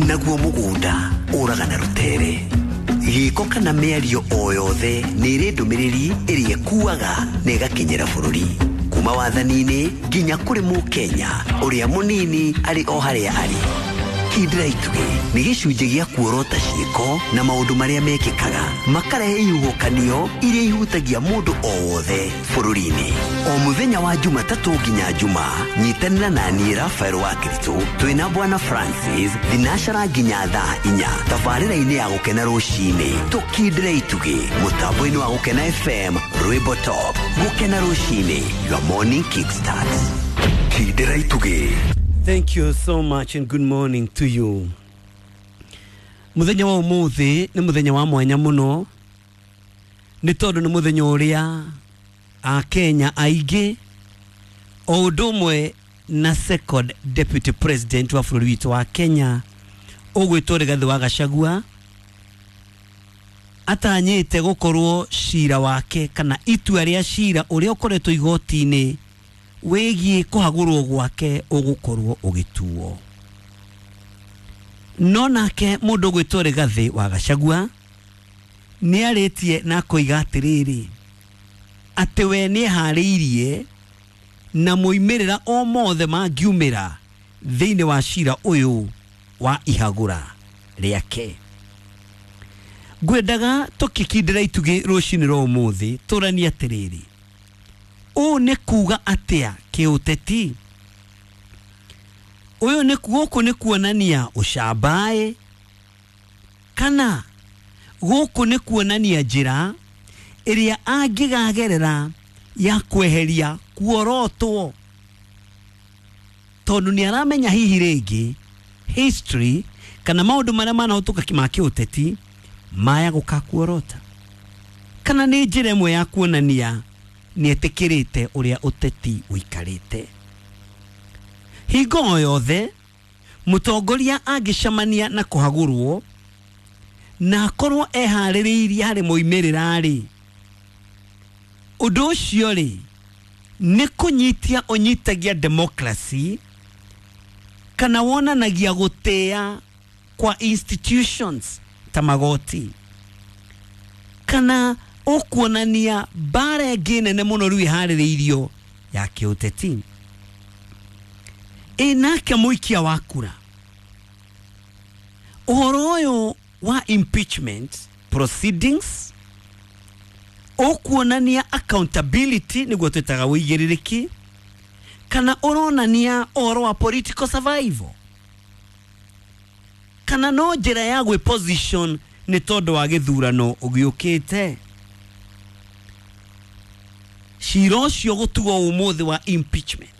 Naguo mũgũnda ũraga na rũtere. Gĩko kana mĩario o yothe nĩ ĩrĩ ndũmĩrĩri ĩrĩa ĩkuaga na ĩgakinyĩra bũrũri. Kuma wathani-inĩ nginya kũrĩ mũkenya ũrĩa mũnini arĩ o harĩa arĩ. Kindĩra itugĩ nĩ gĩcunjĩ gĩa kuorota ciĩko na maũndũ marĩa mekĩkaga makarehe ihuhũkanio iria ihutagia mũndũ o wothe bũrũri-inĩ. O mũthenya wa Jumatatũ nginya Juma, nyitanĩra na niĩ Rafael wa Kiritũ twĩna Bwana Francis thinacara nginya thaa 4 tabarĩra-inĩ ya Gũkena rũcinĩ. Tũkindĩre itugĩ mũtambo-inĩ wa Gũkena FM, Rwĩmbo Top. Gũkena rũcinĩ, your morning kickstart. Kindĩra itugĩ. Thank you so much and good morning to you. Muthenya wa umuthi ni muthenya wa mwanya muno ni tondu ni muthenya uria a Kenya aingĩ o ũndũ ũmwe na second deputy president wa bũrũri witũ wa Kenya ũgwĩtwo Rigathĩ wa Gachagua atanyĩte gũkorwo cira wake kana itua rĩa cira ũrĩa ũkoretwo igoti-inĩ wĩgiĩ kũhagũrwo gwake ũgũkorwo ũgĩtuo. No nake mũndũ ũgwĩtwo Rigathĩ wa Gachagua nĩarĩtie na akoiga atĩrĩrĩ atĩ we nĩeharĩirie na moimĩrĩra o mothe mangiumĩra thĩinĩ wa cira ũyũ wa ihagũra rĩake. Ngwendaga tũkĩkindĩra itugĩ rũcinĩ rwa ũmũthĩ tũranie atĩrĩrĩ, ũũ nĩ kuga atĩa kĩũteti? Ũyũ nĩ gũkũ nĩ kuonania ũcambaĩ kana gũkũ nĩ kuonania njĩra ĩrĩa angĩgagerera ya kweheria kuorotwo, tondũ nĩ aramenya hihi rĩngĩ history kana maũndũ marĩa manahĩtũka ma kĩũteti maya gũkakuorota, kana nĩ njĩra ĩmwe ya kuonania nĩetĩkĩrĩte ũrĩa ũteti ũikarĩte. Hingo o yothe mũtongoria angĩcemania na kũhagũrwo na akorwo eharĩrĩirie harĩ moimĩrĩra-rĩ, ũndũ ũcio rĩ nĩ kũnyitia ũnyitagia democracy kana wonanagia gũtĩa kwa institutions ta magoti, kana ũkuonania mbara ĩngĩ nene mũno rĩu ĩharĩrĩirio ya kĩũteti. Ĩ nake mũikia wa kura, ũhoro ũyũ wa impeachment proceedings ũkuonania accountability nĩguo twĩtaga ũigĩrĩrĩki, kana ũronania ũhoro wa political survival, kana no njĩra ya gwĩ position nĩ tondũ wa gĩthurano ũgĩũkĩte. Cira ũcio gũtuo ũmũthĩ wa impeachment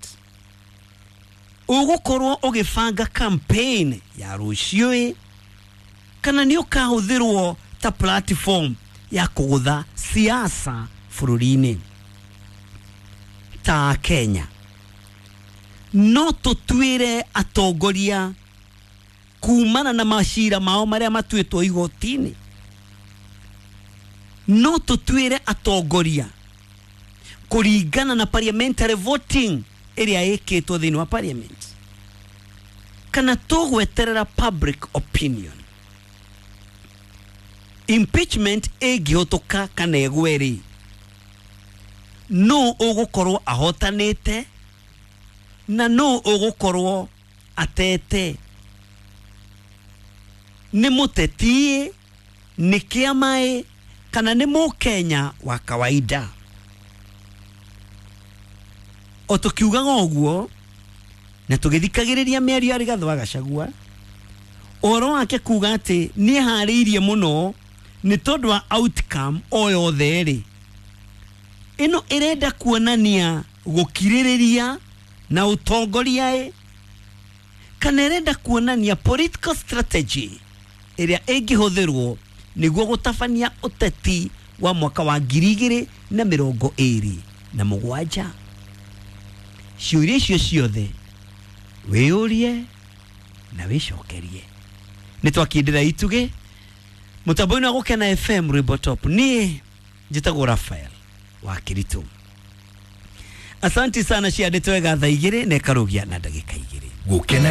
ũgũkorwo ũgĩbanga campaign ya rũciũ, kana nĩ ũkahũthĩrwo ta platform ya kũgũtha siasa bũrũri-inĩ ta Kenya. No tũtuĩre atongoria kumana na macira mao marĩa matuĩtwo igoti-inĩ, no tũtuĩre atongoria kũringana na parliamentary voting ĩrĩa ĩkĩtwo thĩinĩ wa parliament, kana tũgweterera public opinion. Impeachment ĩngĩhũtũka kana ĩgwe rĩ, no ũgũkorwo ahotanĩte na no ũgũkorwo atete? Nĩ mũteti, nĩ kĩama, kana nĩ mũkenya wa kawaida? O tũkiugaga ũguo na tũgĩthikagĩrĩria mĩario ya Rigathĩ wa Gachagua, ũhoro wake kuga atĩ nĩeharĩirie mũno nĩ tondũ wa outcome o yothe rĩ, ĩno ĩrenda kuonania gũkirĩrĩria na ũtongoria ĩ, kana ĩrenda kuonania political strategy ĩrĩa ĩngĩhũthĩrwo nĩguo gũtabania ũteti wa mwaka wa 2027. Ciũria icio ciothe wĩyũrie na wĩcokerie. Nĩ twakindĩra itugĩ mũtambo-inĩ wa Gũkena FM Rwĩmbo Top. Niĩ njĩtagwo Rafael wa Kiritũ. Asanti sana ciandĩtwo wega thaa 2 na ĩkarũgia na ndagĩka 2. Gũkena.